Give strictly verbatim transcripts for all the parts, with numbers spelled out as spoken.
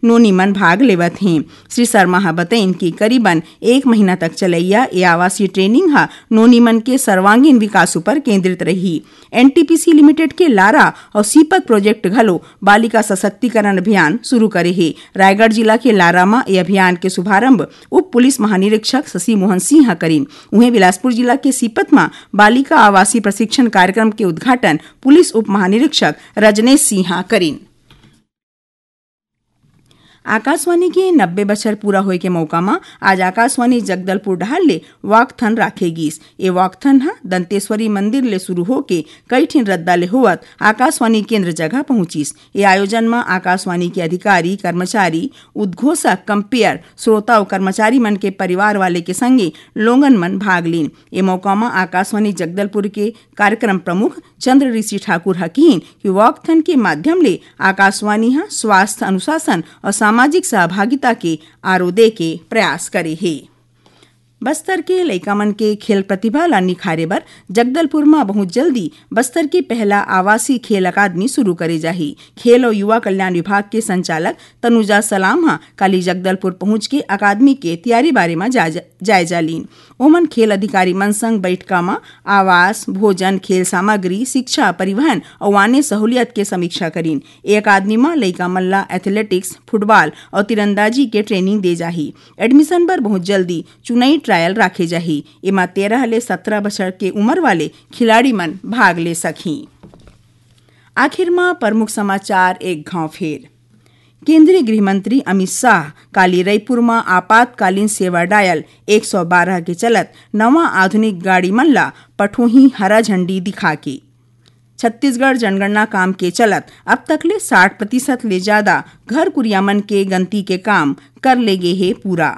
नोनी मन भाग लेवत हें। श्री शर्मा ह बतइन कि करीबन एक महीना तक चलइया ए आवासीय ट्रेनिंग ह नोनी मन के सर्वांगीण विकास उपर केंद्रित रही। एनटीपीसी लिमिटेड के लारा अउ सीपत प्रोजेक्ट घलो बालिका सशक्तिकरण अभियान शुरू करे हे। रायगढ़ जिला के लारा म ए अभियान के शुभारंभ उप पुलिस महानिरीक्षक शशि मोहन सिंह ह करिन। उहें, बिलासपुर जिला के सीपत म बालिका आवासीय प्रशिक्षण कार्यक्रम के उद्घाटन पुलिस उप महानिरीक्षक रजनेश सिंह ह करिन। आकाशवाणी के नब्बे बछर पूरा होए के मौका म आज आकाशवाणी जगदलपुर डहार ले वॉकथन राखे गिस। ए वॉकथन ह दंतेश्वरी मंदिर ले शुरू होके कई ठिन रद्दा ले होवत आकाशवाणी केंद्र जगह पहुंचिस। ए आयोजन म आकाशवाणी के अधिकारी, कर्मचारी, उद्घोषक, कंपेयर, श्रोता अउ कर्मचारी मन के परिवार वाले के संगे लोगन मन भाग लीन। ए मौका म आकाशवाणी जगदलपुर के कार्यक्रम प्रमुख चंद्र ऋषि ठाकुर ह किहिन कि वॉकथन के माध्यम ले आकाशवाणी ह स्वास्थ्य अनुशासन अउ सामाजिक सहभागिता के आरो दे के प्रयास करे हे। बस्तर के लइका मन के खेल प्रतिभा ला निखारे बर जगदलपुर म बहुत जल्दी बस्तर के पहला आवासीय खेल अकादमी शुरू करे जाही। खेल अउ युवा कल्याण विभाग के संचालक तनुजा सलाम ह काली जगदलपुर पहुंच के अकादमी के तैयारी बारे म जायजा, जायजा लीन। ओमन खेल अधिकारी मन संग बैठका म आवास, भोजन, खेल सामग्री, शिक्षा, परिवहन अउ आने सहूलियत के समीक्षा करीन। ए अकादमी म लइका मन ला एथलेटिक्स, फुटबॉल अउ तीरंदाजी के ट्रेनिंग दे जाही। एडमिशन बर बहुत जल्दी चुनई ट्रायल राखे जाही। एमा तेरह ले सत्रह बछर के उमर वाले खिलाड़ी मन भाग ले सकही। आखिर म प्रमुख समाचार एक घांव फेर। केंद्रीय गृह मंत्री अमित शाह काली रईपुर म आपातकालीन सेवा डायल एक सौ बारह के चलत नवा आधुनिक गाड़ी मन ला पठोही हरा झंडी दिखा के। छत्तीसगढ़ जनगणना काम के चलत अब तक ले साठ प्रतिशत ले जादा घर कुरिया मन के गंती के काम कर ले गे हे पूरा।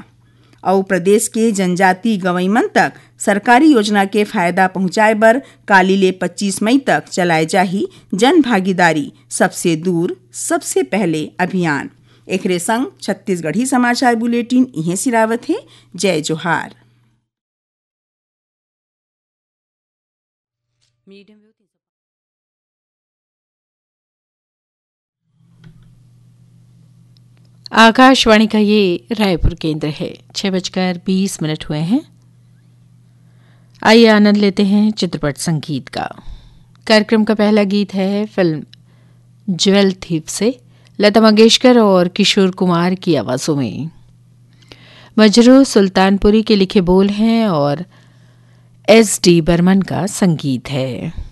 अउ प्रदेश के जनजाति गंवई मन तक सरकारी योजना के फायदा पहुंचाए बर काली ले पच्चीस मई तक चलाए जाही जन भागीदारी सबसे दूर सबसे पहले अभियान। एकरे संग छत्तीसगढ़ी समाचार बुलेटिन इहें सिरावत हे। जय जोहार। आकाशवाणी का ये रायपुर केंद्र है। छः बजकर बीस मिनट हुए हैं। आइए, आनंद लेते हैं चित्रपट संगीत का। कार्यक्रम का पहला गीत है फिल्म ज्वेल थीफ से, लता मंगेशकर और किशोर कुमार की आवाज़ों में। मजरूह सुल्तानपुरी के लिखे बोल हैं और एस डी बर्मन का संगीत है।